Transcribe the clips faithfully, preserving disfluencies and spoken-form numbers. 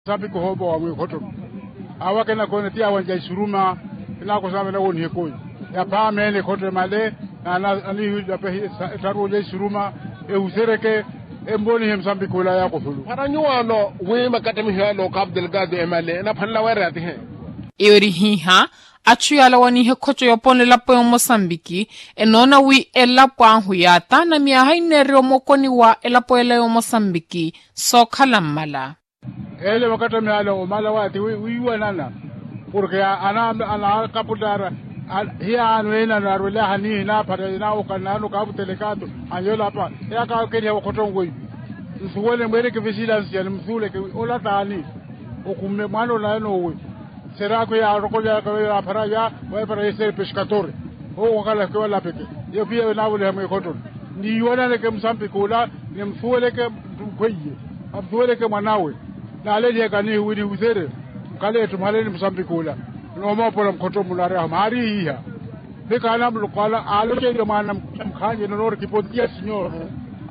Sambi kuhoopa wa mwikhottono. Awo akina koona ti awanca isuruma. Kinaakosana vana wooniha ekooyi. Yaphaama ene ekhotto emale. Anihilapehi ettaru olya isuruma. Ehusereke. Emvoonihe musambiki ula yakothulu para nyuwaano. Wi makattamiho yale okapu delgado emale enaphwanela weera yatihe. Eyo eri hiiha. Atthu yaala awaniha ekhotto yoopolela elapo y'omosambiki. Enoona wi elapo ahu yaataana myaha inneererya omokoni wa elapo ela y'omosambiki. Sookhala mmala. Ele makattamiho yale omala waati wiiwanana. Porke anaakapulaara. Hiyaano enano arwelaaha niihi naaphata naawokana naano okapu delgado. Anyolapa. Eyakaakeliha wakhotto nweyi. Nsuwele mweereke vesilansiya ni musuuleke wi ola taani. Okhumme mwaana ola enoowe. Seraakhu yaarokolyaka veyo yaaphara ya waepara yeseeri pexkatore. Owo wakhala kiwalapeke. Iyo piya venaavoliha mweekhottono. Niiwananeke musambiki ula. Nimusuweleke. Mutthunkhweiye. Amusuweleke mwanawe. Naalelihaka niihi wi nihuserye. Mukhale etthu muhale ni musambiki ula. Noomoopola mukhotto muno ari ahu maari ihiha. Mikaana muloko ala aaloceeriye mwaana mukhaanyeni onoori kipontiya sinyora.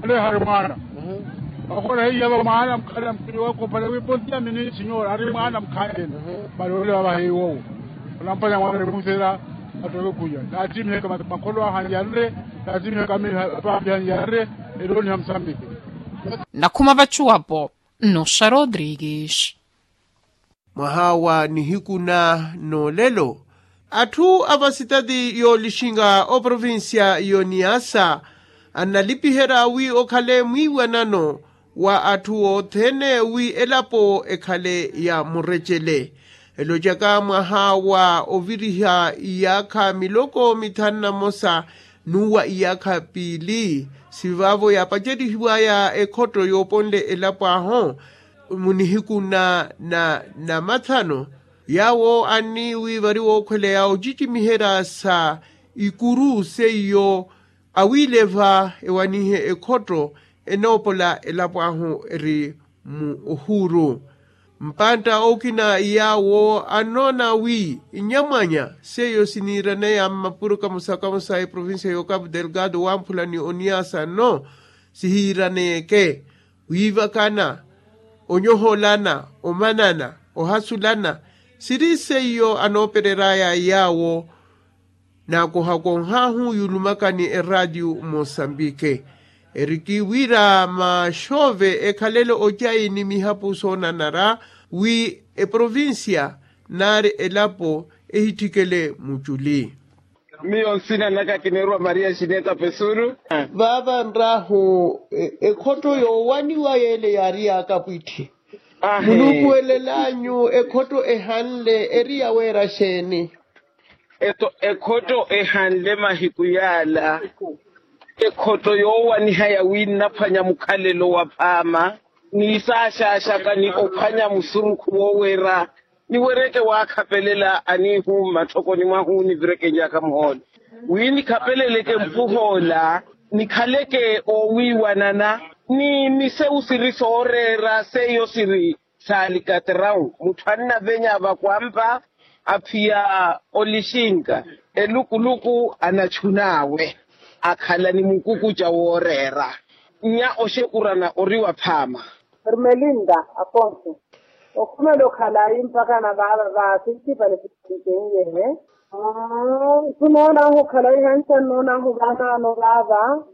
Aleehari mwaana. Wakhora heiya va mwaana mukhala mukini wakophana wi pontiya mini sinyora ari mwaana mukhaanyeni. Vale ole vavaha iwowo. Olampanya mwaana emuhusera. Attoke khuya naatimiheke makholo ahanyanre. Naatimiheke apaapi ahanyanre. Erooniha musambiki. Nakhuma vacuwapo. Nnoxa rodrigues. Mwaha wa nihiku na noolelo atthu a vasitati yoolixinga oprovincia y'oniasa annalipiherya wi okhale mwiiwanano wa atthu othene wi elapo ekhale ya murecele. Elocaka mwaha wa oviriha iyaakha miloko mithanu na mosa n'uwa iyaakha piili sivaavo yaapacerihiwaya ekhotto yooponle elapo ahu. Mu nihiku na na namathano yaawo anni wi vari wookhweleya ocicimiherya sa ikuru seiyo awiileva ewanihe ekhotto enoopola elapo ahu eri mu ohuuru. Mpantta okina yaawo annoona wi nnyamwanya seiyo siniiraneya mmapuro kamosa kamosa eprovincia y'okapu delgado wamphula ni oniasa nno sihiiraneyeke wiivakana onyoholana omanana ohasulana siri seiyo anoopereraya yaawo. Naakohakonhahu yulumakani eraatiyo mosambike eriki wira maxoove ekhalele ocayi ni mihapu soonanara wi eprovincia nari elapo ehitthikele muculi. Miyo nsina naka kineeriwa maria xineta pesuru. Vaava nrahu ekhotto yoowaniwa yeele yaari yaakapwitthi. Muluku elel'anyu ekhotto ehanle eri yaweera xeeni? Eto ekhotto ehanle mahiku yaala ekhotto yoowaniha yawiinnaphwanya mukhalelo wa phaama ni saaxaaxaka ni ophwanya musurukhu wooweera niwereke waakhapelela aniihu mmatthokoni mwahu nivirekenyaka muhoolo wi nikhapeleleke mpuhoola nikhaleke oowiiwanana ni nisewu siri sooreera seiyo siri saalikatrawu mutthu annavenya vakwampa aphiya olixinka elukuluku anachun'awe akhala ni mukukuca wooreera. Nnya oxekurana ori waphaama. Hermelinda afonso okhumela okhalayi mpakha na vaava vaasi ntipale sipalikenyehe. Nnoon'ahu okhalayi hansa nnoon'ahu vaanaano vaava.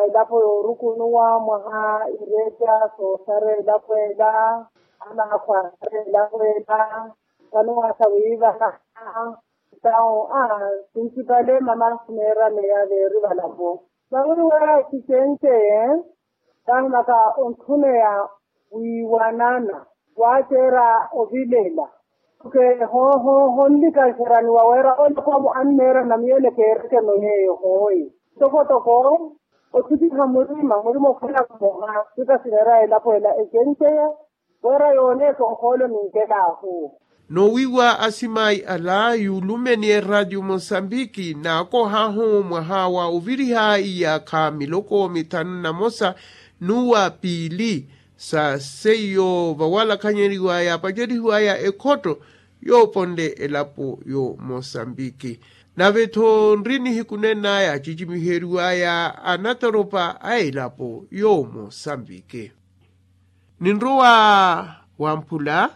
Elapo yoorukunuwa mwaha ireca soosara elapo ela anaakhwa asara elapo ela. Vano waasa wiivana ntawo a sintipale mama ahuneeraneya veeri valapo. Vawiiwa sicence. Taahimaka onthuneya wiiwanana waaceera ovilela. Tuke honlikaxeraniwa wira olokwamu anneerana miyo enekeerekeno yeeyo hooyi. Tokotoko othutiha murima murima okhwela mmoha sika sineera elapo ela ecenceya wira yooneeka ohoolo ninkelaahu. Noowiiwa asimayi ala yuulumeni eraatiyo mosambiki naakohahu mwaha wa oviriha iyaakha miloko mithanu na mosa n'uwa piili sa seiyo vawalakhanyeriwaya yapacerihiwaya ekhotto yooponle elapo yo mosambiki. Nave-tho nri nihiku nenaya cicimiheriwaya anatoropa a elapo yo mosambiki. Ninrowa wamphula